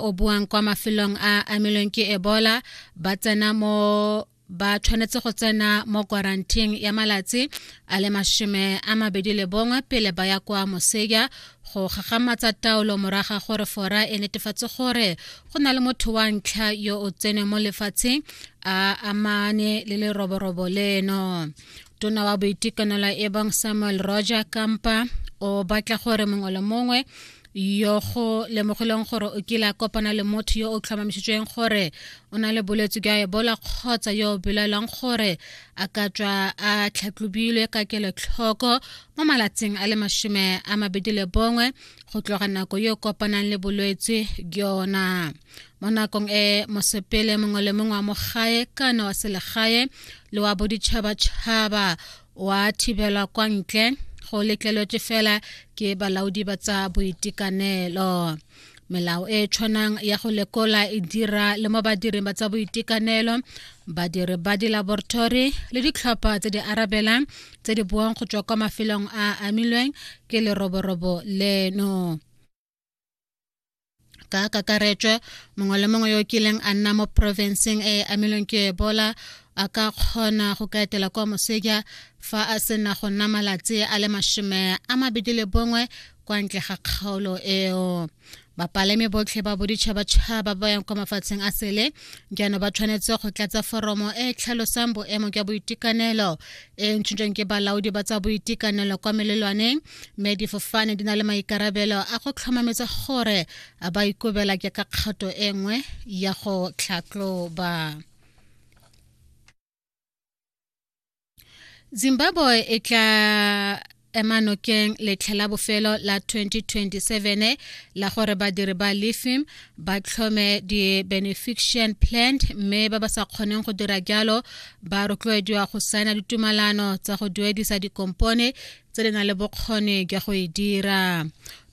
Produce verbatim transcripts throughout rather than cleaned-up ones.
O buang kwa mafelong a amilweng ke Ebola ba tsena mo ba tshwanetse go tsena mo quarantine ya malatsi a le mashome a mabedi le bongwe pele ba ya kwa moseja go gagamatsa taolo morago ga gore Fora e netefatse gore go na le motho wa ntlha yo o tsene mo lefatsheng a amane le leroborobo leno. Tona wa boitekanelo e bong Samuel Roger Kampa o batla gore mongwe le mongwe yo go lemogileng gore o kile a kopana le motho yo o tlhomamisitsweng gore o na le bolwetse jwa Ebola kgotsa yo o belaelwang gore a ka tswa a tlhatlhobilwe ka kelotlhoko mo malatsing a le mashome a mabedi le bongwe go tloga nako yo o kopanang le bolwetse jona. Mo nakong e mosepele mongwe le mongwe wa mo gae kana wa selegae le wa boditšhabatšhaba wa thibelwa kwa ntle go letleletswe fela ke balaodi ba tsa boitekanelo. Melao e e tshwanang ya go lekola e dira le mo badiring ba tsa boitekanelo, badiri ba dilaboratori le ditlhopha tse di arabelang tse di buang go tswa kwa mafelong a a amilweng ke leroborobo leno. Ka kakaretso, mongwe le mongwe yo o kileng a nna mo porofenseng e e amilweng ke Ebola a ka kgona go ka etela kwa moseja fa a sena go nna malatsi a le mashome a mabedi le bongwe kwa ntle ga kgaolo eo. Bapalami botlhe ba boditšhabatšhaba ba yang kwa mafatsheng a sele jaanong ba tshwanetse go tlatsa foromo e e tlhalosang boemo jwa boitekanelo e ntshitsweng ke balaodi ba tsa boitekanelo kwa melelwaneng, mme difofane di na le maikarabelo a go tlhomamisa gore a ba ikobela jaaka kgato e nngwe ya go tlhatlhoba. Zimbabwe e tla ema nokeng letlha la bofelo la twenty twenty-seven la gore badiri ba lithium ba tlhome di-beneficiation plant, mme ba ba sa kgoneng go dira jalo ba rotloediwa go saena ditumalano tsa go duedisa dikompone tse di nang le bokgoni jwa go e dira.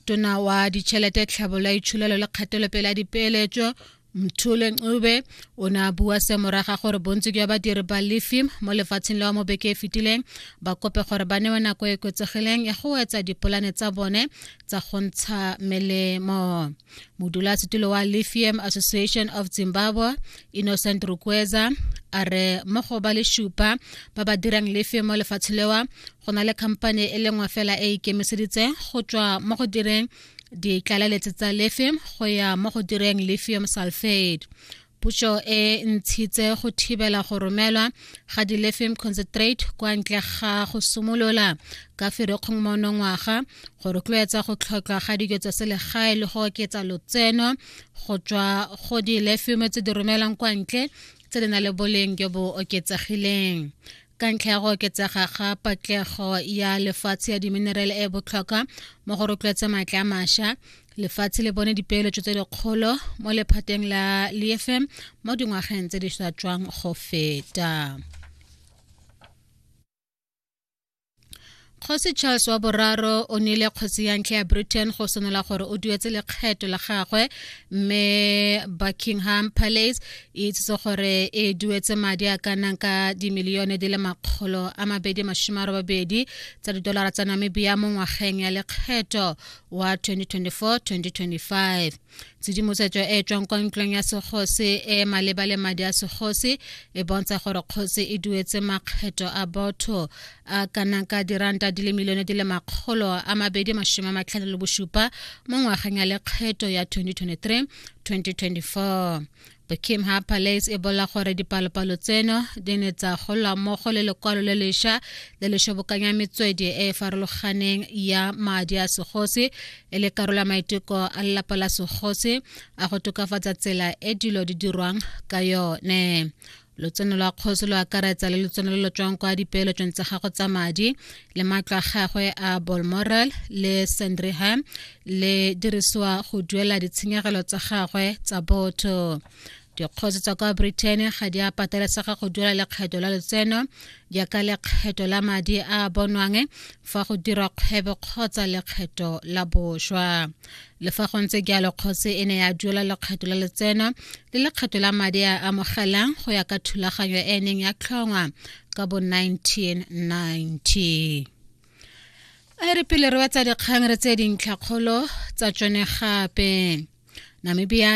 Tona wa ditšhelete, tlhabololo ya itsholelo le kgatelopele ya dipeeletso Mthuli Ncube o ne a bua se morago ga gore bontsi jwa badiri ba lithium mo lefatsheng la mo beke e fetileng ba kope gore ba newe nako e oketsegileng ya go etsa dipolane tsa bone tsa go ntsha melemo. Modulasetulo wa Lithium Association of Zimbabwe Innocent Rukweza a re mo go ba le supa ba ba dirang lithium mo lefatsheng lewa go na le khamphane e le nngwe fela e ikemiseditseng go tswa mo go direng ditlaleletso tsa lithium go ya mo go direng lithium sulfate. Puso e ntshitse go thibela go romelwa ga di-lithium concentrate kwa ntle ga go simolola ka Ferikgong monongwaga go rotloetsa go tlhotlhwa ga dijo tsa selegae le go oketsa lotseno go tswa go di-lithium tse di romelwang kwa ntle tse di nang le boleng jo bo oketsegileng. Ka ntlha ya go oketsega ga patlego ya lefatshe ya diminerale e botlhokwa mo go rotloetsa maatla a mašwa, lefatshe le bone dipeeletso tse dikgolo mo lephateng la lithium mo dingwageng tse di sa tswang go feta. Kgosi Charles wa boraro o neile kgosi ya ntlha ya Britain go senola gore o duetse lekgetho la gagwe, mme Buckingham Palace e itsise gore e duetse madi a ka nnang ka dimilione di le makgolo a mabedi masome a robabedi tsa didolara tsa Namibia mo ngwageng ya lekgetho wa twenty twenty-four twenty twenty-five. Tshedimosetso e e tswang kwa ntlong ya segosi e maleba le madi a segosi e bontsha gore kgosi e duetse makgetho a botho a ka nnang ka diranta di le milione di le makgolo a mabedi masome a matlhano le bosupa mo ngwageng ya lekgetho ya twenty twenty-three twenty twenty-four. Buckingham Palace e bolela gore dipalopalo tseno di ne tsa golwa mmogo le lekwalo le lešwa le le shobokanya metswedi e e farologaneng ya madi a segosi e le karolo ya maiteko a lelapa la segosi a go tokafatsa tsela e dilo di dirwang ka yone. Lotseno lwa kgosi lo akaretsa le lotseno lo lo tswang kwa dipeeletsong tsa gagwe tsa madi le matlo a gagwe a Balmoral le Sandringham le dirisiwa go duela ditshenyegelo tsa gagwe tsa botho. Dikgosi tsa kwa Britain ga di a patelesega go duela lekgetho la lotseno jaaka lekgetho la madi a a bonwang fa go dirwa kgwebo kgotsa lekgetho la boswa. Le fa go ntse jalo, kgosi e ne ya duela lekgetho la lotseno le lekgetho la madi a amogelang go ya ka thulaganyo e e neng ya tlhongwa ka bo nineteen ninety. A re pele re wetsa dikgang re tse dintlhakgolo tsa tsone gape. Namibia